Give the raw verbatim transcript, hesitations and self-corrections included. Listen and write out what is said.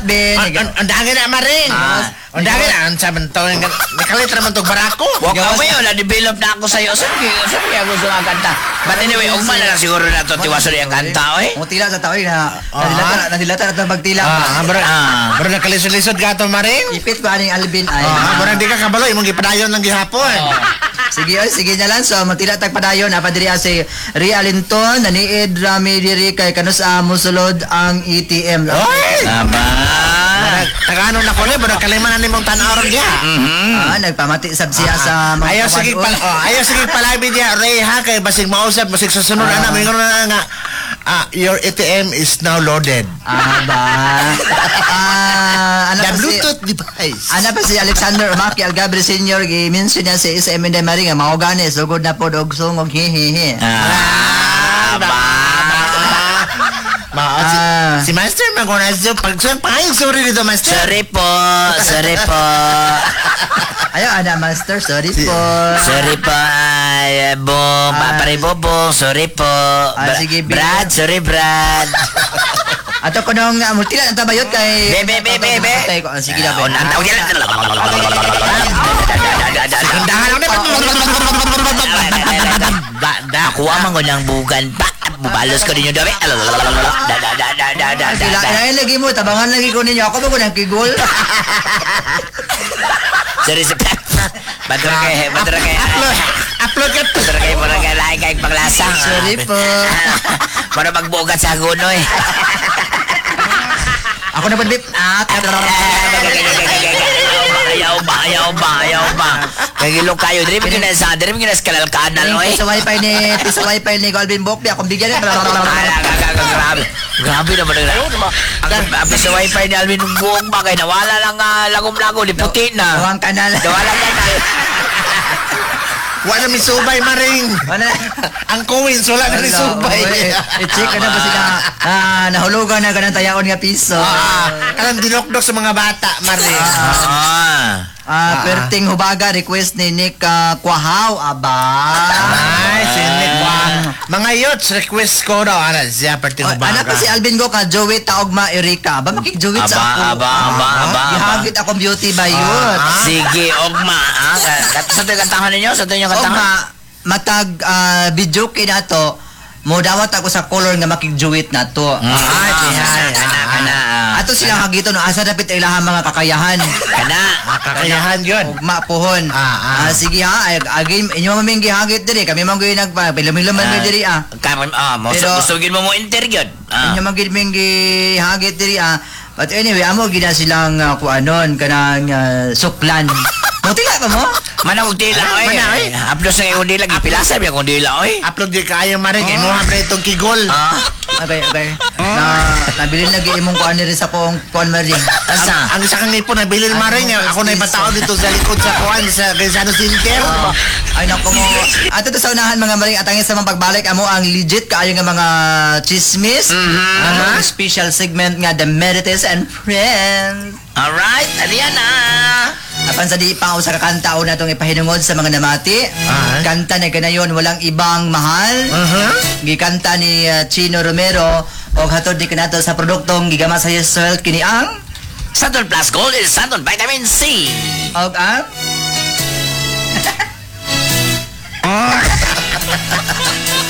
Salamat, Ben. Ang ang- ang dami na maring. Ah. Ang dami na ang sabi to. Nakalit naman tong barako. Wa ka mo yun, na-develop na ako sa'yo. Saan kaya, saan kaya gusto ang kanta? But anyway, ugma na lang siguro na to, tiwaso yung kanta, oy. Mo tila sa tao eh, na nadilata nadilata na itong pagtila. Ah, bro. Ah. Bro, nakalisod-lisod ka to maring. Ipit ko aning Alvin ay. Ah, bro, di ka kabalo imong gipadayon lang gihapon. Sige, oy, sige na lang. So, magtila tag padayon. Apa diri ah, si Ria Linton, naniid rami diri kay kanus a mosulod ang A T M. Oy! Aba. Tagano na ko ni, bro, kalima na nimong tan-aw ron diha. Ah, nagpamati sab siya sa mga Ayaw sige kawan-on. pal oh, ayaw sige palabi diha Ray ha, kay basig mausap basig susunod ana moingon na nga ah, "Your A T M is now loaded." Ah, ba. Ah, ano The pa si Bluetooth device. Ana pa si Alexander Umaki Algabre Senior, gi-mention niya si S M Inday Marie nga mao gani sugod na pod og sungog, hihihi. Ah, Aba. Ma, si, Ah. si Master Magonazzo, pag pangayong sorry dito, Master. Sorry po, sorry po. Ayaw ana, Master, sorry po. Sorry po, ay, Bong, Ah. Pare Bobong, sorry po. Ah, Bra- sige, Bill. Brad, sorry Brad. Ato ko nung uh, multila ang tabayot kay Be, be, be, be, be. Patay ko. Ah, sige na, be. Oh, nanta- oh, yan. Dahan lang na. Da, da, kuha man ko ng bugan pa. Bubalos ko ninyo dabi. Da, da, da, da, da, da, da, Sila, da. ay, lagi mo, tabangan lagi ko ninyo. Ako ba ko ng kigol? Sorry, sorry. Badra kay, badra kay. Upload, upload ka. Badra kay, mura kay, lahi kay paglasang. Sorry po. Mura magbugat sa gunoy. Ako na po, bip. Ah, Ayaw ba, ayaw ba, ayaw ba. Kagilo kayo. Diri mo gina sa, diri mo gina sa kanal-kanal, oy. Sa wifi ni, sa wifi ni Alvin Bokbi, akong bigyan. Ala, grabe. Grabe naman ang ang ang sa wifi ni Alvin buong ba kay nawala lang uh, lagom-lagom di puti na. Nawang kanal. Nawala kanal. Wala mi subay, maring. Wala. Ang coins wala na ni subay. Oy, i-check ka na ba sila? Ah, nahulugan na ka ng tayaon nga piso. Ah, kanang dinokdok sa mga bata, maring. Ah. Ah, perting hubaga request ni Nick ah, Kwahaw, aba. Ay, si Nick Wa. Mga yots, request ko daw. Ana, siya, perting Oh, hubaga. anak pa si Alvin Go ka, Joey Taogma Erika. Aba, makik-Joey sa Aba, ako. aba, aba, aba, aba. Gihagit akong beauty by youth. Sige, ogma. Ah, sa ito yung kantahan ninyo? Sa ito yung kantahan? Ogma, matag ah, video kay nato, mo dawat ako sa color nga makig-duet na to. Ah, Ay, kana, kana. ah. Ato silang hagito no asa dapit ilahang mga kakayahan. Kana. Kakayahan yun. Ugma pohon. Ah, ah. Ah, sige ha, ay, again inyo man ming gihagit diri, kami man gyud nagpa pilumiluman mi diri ah. Karon ah, mo Pero- gusto mo mo interview. Ah. Inyo man gyud ming gihagit diri ah. But anyway, amo gina silang uh, kuanon kanang ah, suklan. Mutila pa mo? Mana og dila oy. Mana, oy. Haplos ang imong dila gipilasa biya kong dila oy. Upload di kaayo, maring. Kay mo hambre itong kigol. Ah. Okay, okay. Na nabilin lagi imong kuan diri sa kong kuan maring. Asa? Ang isa kang ipon, nabilin maring. Ako na ipatao dito sa likod sa kuan, sa Gaisano Center. Ay nako mo. Ato to sa unahan, mga maring, atangin sa mga pagbalik amo ang legit kaayo nga mga chismis. Mm-hmm. Special segment nga The Marites and Friends. Alright, ariyan na. Apan sa di pa sa kakanta o natong ipahinungod sa mga namati. Ah. Kanta na kanayon "Walang Ibang Mahal." Uh-huh. Gikanta ni uh, Chino Romero og hatod di kanato sa produktong gigama sa Yes Health, kini ang Santon Plus Gold is Santon Vitamin C. Og ang